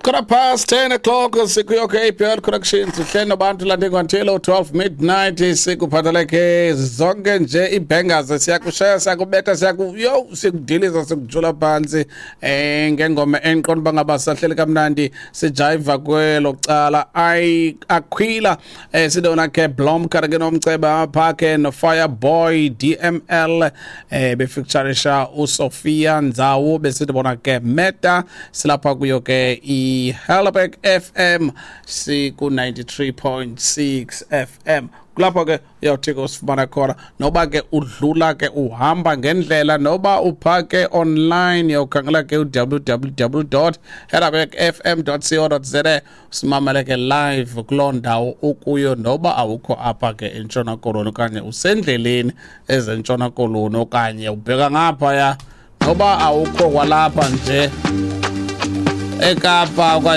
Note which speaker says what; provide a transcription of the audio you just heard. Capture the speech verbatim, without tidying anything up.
Speaker 1: Quarter past ten o'clock, sikuyo ke A P L Connections, sihleli nobantu landingwantilo twelve midnight, sikuphathele ke zonke nje ii-bangers, siyakushaya, siyakubetha, siyaku yo sikudiliza, sikujula phantsi eh ngengoma endiqonda uba ngaba sahleli kamnandi, sijayiva kwelo cala. Ayi, Aquila, eh sidona ke Blomkar ke nomceba apha ke no Fireboy D M L, eh befeaturisha uSophia Ndzawo, besithi bona ke Meta. Silapha kuyo ke iHelderberg F M, siku ninety-three point six F M. Kulapho ke uyawuthi ke usifumana khona, noba ke udlula ke uhamba ngendlela, noba uphake online, uyawukhangela ke u W W W dot helderberg F M dot co dot za, usimamele ke live kuloo ndawo ukuyo, noba awukho apha ke eNtshona Koloni, okanye usendleleni ezeNtshona Koloni, okanye ubheka ngaphaya, noba awukho kwalapha nje eKapa okanye